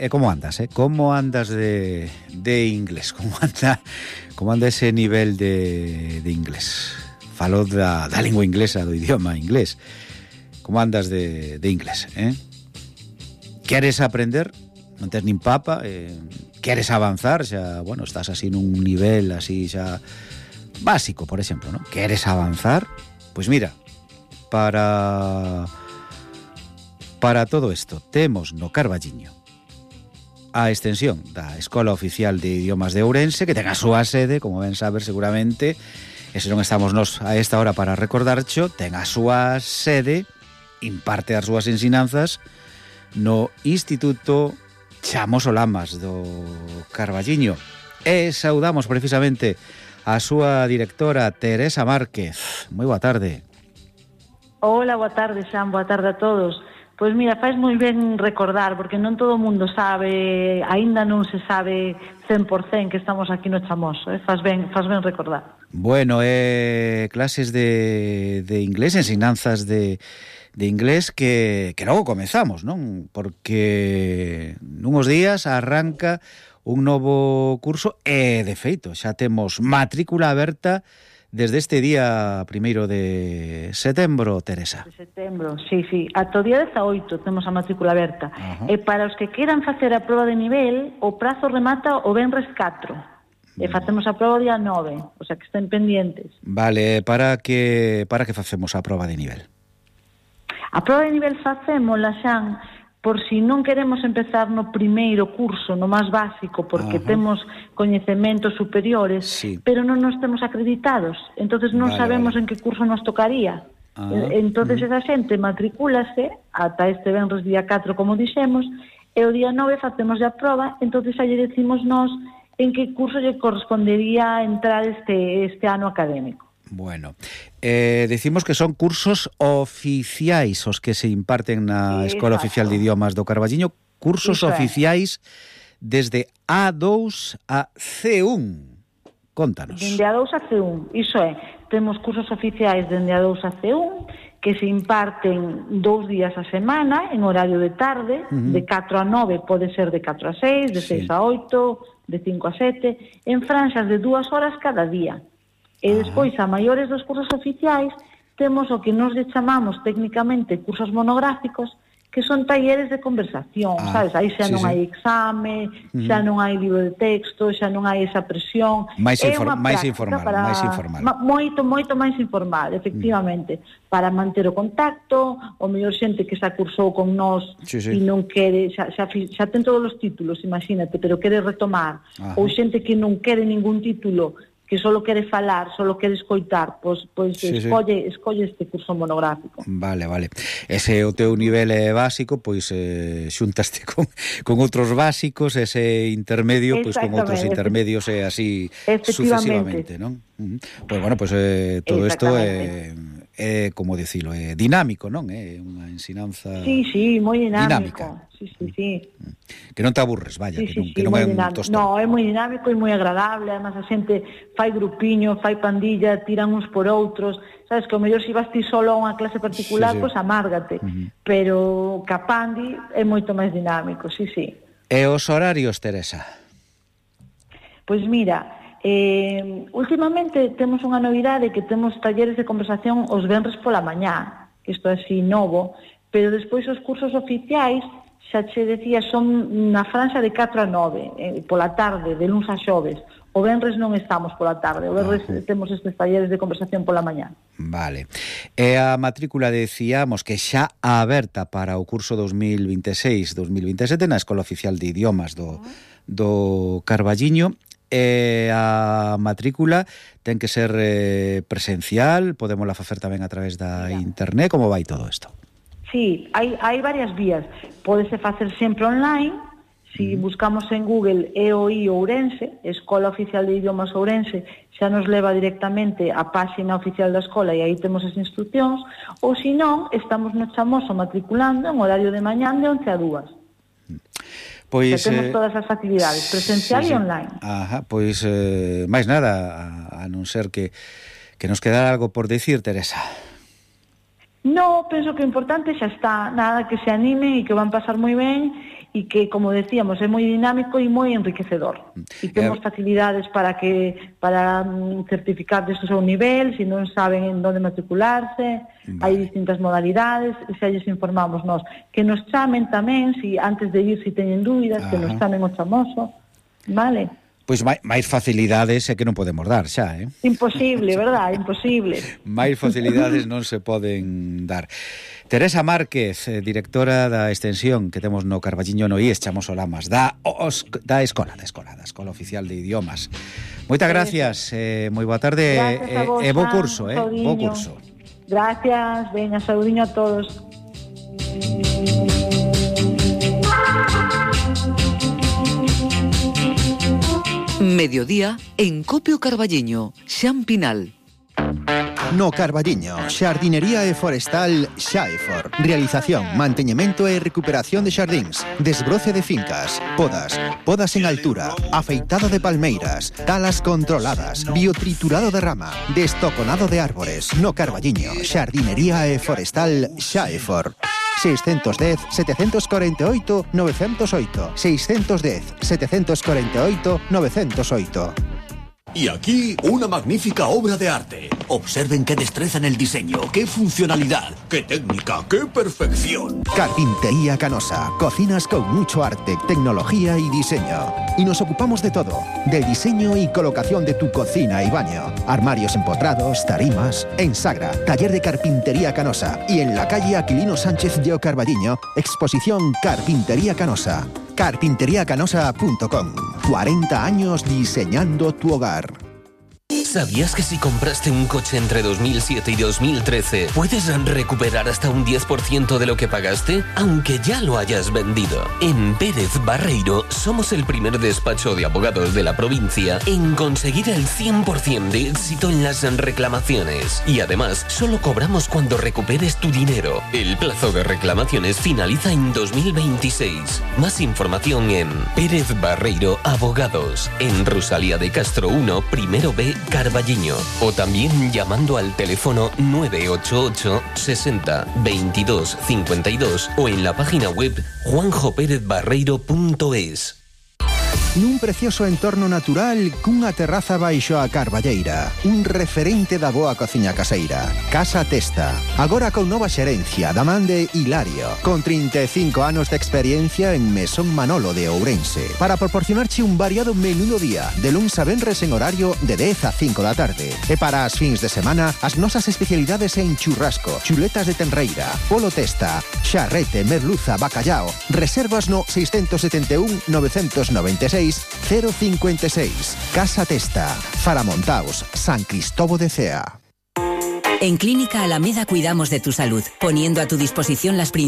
Como andas, Como andas de inglés? Como anda ese nivel de inglés? Falo da lingua inglesa, do idioma inglés. Como andas de inglés, Queres aprender? Non tes nin papa? Queres avanzar? Xa, bueno, estás así nun nivel así xa básico, por exemplo, ¿no? Queres avanzar? Pois mira, para todo isto temos no Carballiño a extensión da Escola Oficial de Idiomas de Ourense, que ten a súa sede, como ben saber seguramente, e se non estamos nos a esta hora para recordarcho, ten a súa sede, imparte as súas ensinanzas no Instituto Chamoso Lamas do Carballiño. E saudamos precisamente a súa directora, Teresa Márquez. Moi boa tarde. Hola, boa tarde, Xan, boa tarde a todos. Pois mira, faz moi ben recordar, porque non todo o mundo sabe, aínda non se sabe 100% que estamos aquí no Chamoso, faz ben recordar. Bueno, clases de inglés, ensinanzas de inglés que logo comezamos, non? Porque nunhos días arranca un novo curso e, de feito, xa temos matrícula aberta desde este día 1 de setembro, Teresa. De setembro, sí. Ata o día 18 temos a matrícula aberta. E para os que queran facer a proba de nivel, o prazo remata o venres 4. E facemos a proba o día 9, o sea que estén pendientes. Vale, para que facemos a proba de nivel? A proba de nivel facémola, Xan, por si non queremos empezar no primeiro curso, no máis básico, porque temos coñecementos superiores, sí, pero non nos temos acreditados, entonces non sabemos en que curso nos tocaría. Entonces esa xente matricúlase ata este venres día 4, como dixemos, e o día 9 facemos a proba, entonces aí decimos nós en que curso lle correspondería entrar este ano académico. Bueno, decimos que son cursos oficiais os que se imparten na Escola Oficial de Idiomas do Carballiño, cursos oficiais desde A2 a C1. Contanos. Dende A2 a C1, iso é, temos cursos oficiais dende A2 a C1 que se imparten 2 días a semana en horario de tarde, de 4 a 9, pode ser de 4 a 6, de 6 a 8, de 5 a 7, en franxas de 2 horas cada día. E despois, a maiores dos cursos oficiais, temos o que nos chamamos técnicamente cursos monográficos, que son talleres de conversación, sabes? Aí xa non hai exame, xa non hai libro de texto, xa non hai esa presión. máis informal. Moito máis informal, efectivamente, para manter o contacto, o mellor xente que xa cursou con nós e non quere, xa ten todos os títulos, imagínate, pero quere retomar, ou xente que non quere ningún título, que solo quere falar, solo quere escoitar, pois escolle este curso monográfico. Vale. Ese o teu nivel básico, pois xuntaste con outros básicos, ese intermedio, pois con outros intermedios e así sucesivamente, non? Pois bueno, pois todo isto é como dicilo, é dinámico, non? É unha ensinanza moi dinámica. Sí. Que non te aburres, vaya, que non é un tostón. No, é moi dinámico e moi agradable, además a xente fai grupiño, fai pandilla, tiran uns por outros, sabes, que o mellor se vas ti solo a unha clase particular, pois amárgate, pero Capandi é moito máis dinámico, sí. E os horarios, Teresa? Pois mira, últimamente temos unha novidade que temos talleres de conversación os venres pola mañá, que isto é así novo, pero despois os cursos oficiais xa che decía, son na franxa de 4 a 9, pola tarde, de luns a xoves. O venres non estamos pola tarde, o venres temos estes talleres de conversación pola mañá. Vale. E a matrícula decíamos que xa aberta para o curso 2026-2027 na Escola Oficial de Idiomas do Carballiño. E a matrícula ten que ser presencial, podémola facer tamén a través da internet, como vai todo isto? Sí, hai varias vías. Pódese facer sempre online, si buscamos en Google EOI Ourense, Escola Oficial de Idiomas Ourense, xa nos leva directamente á páxina oficial da escola e aí temos as instruccións, ou se non, estamos no Chamoso matriculando en horario de mañán de 11 a 2. Pois temos todas as actividades, presencial e online. Pois máis nada, a non ser que nos quedara algo por decir, Teresa. No, penso que o importante xa está, nada, que se anime e que van pasar moi ben e que, como decíamos, é moi dinámico e moi enriquecedor. E temos facilidades para certificar desde o seu nivel, se non saben en onde matricularse, hai distintas modalidades, e xa lles informamos nós. Que nos chamen tamén, si antes de ir, se teñen dúbidas, que nos chamen o chamoso, vale? Pois máis facilidades é que non podemos dar xa, Imposible, verdad? Imposible. Máis facilidades non se poden dar. Teresa Márquez, directora da extensión que temos no Carballiño no IES Chamoso Lamas, da Escola Oficial de Idiomas. Moitas gracias, moi boa tarde e bo curso, bo curso. Gracias, veña, saudiño a todos. Mediodía en Copio Carballiño, Xan Pinal. No Carballiño, Xardinería e Forestal Xaefor. Realización, manteñemento e recuperación de xardíns, desbroce de fincas, podas en altura, afeitado de palmeiras, talas controladas, biotriturado de rama, destoconado de árbores. No Carballiño, Xardinería e Forestal Xaefor. 610 748 908 610 748 908. Y aquí, una magnífica obra de arte. Observen qué destreza en el diseño, qué funcionalidad, qué técnica, qué perfección. Carpintería Canosa. Cocinas con mucho arte, tecnología y diseño. Y nos ocupamos de todo. Del diseño y colocación de tu cocina y baño. Armarios empotrados, tarimas. En Sagra, taller de Carpintería Canosa. Y en la calle Aquilino Sánchez de Carballiño, exposición Carpintería Canosa. Carpinteriacanosa.com. 40 años diseñando tu hogar. ¿Sabías que si compraste un coche entre 2007 y 2013 puedes recuperar hasta un 10% de lo que pagaste, aunque ya lo hayas vendido? En Pérez Barreiro somos el primer despacho de abogados de la provincia en conseguir el 100% de éxito en las reclamaciones. Y además, solo cobramos cuando recuperes tu dinero. El plazo de reclamaciones finaliza en 2026. Más información en Pérez Barreiro Abogados, en Rosalía de Castro 1, primero B, Carballiño, o también llamando al teléfono 988 60 22 52 o en la página web juanjoperezbarreiro.es. Nun precioso entorno natural cunha terraza baixo a Carballeira, un referente da boa cociña caseira. Casa Testa, agora con nova xerencia da man de Hilario, con 35 anos de experiencia en Mesón Manolo de Ourense, para proporcionarche un variado menú do día, de luns a venres en horario de 10 a 5 da tarde. E para as fins de semana, as nosas especialidades en churrasco, chuletas de tenreira, polo testa, xarrete, merluza, bacallao. Reservas no 671 996 056. Casa Testa, Faramontaos, San Cristóbal de Cea. En Clínica Alameda cuidamos de tu salud, poniendo a tu disposición las principales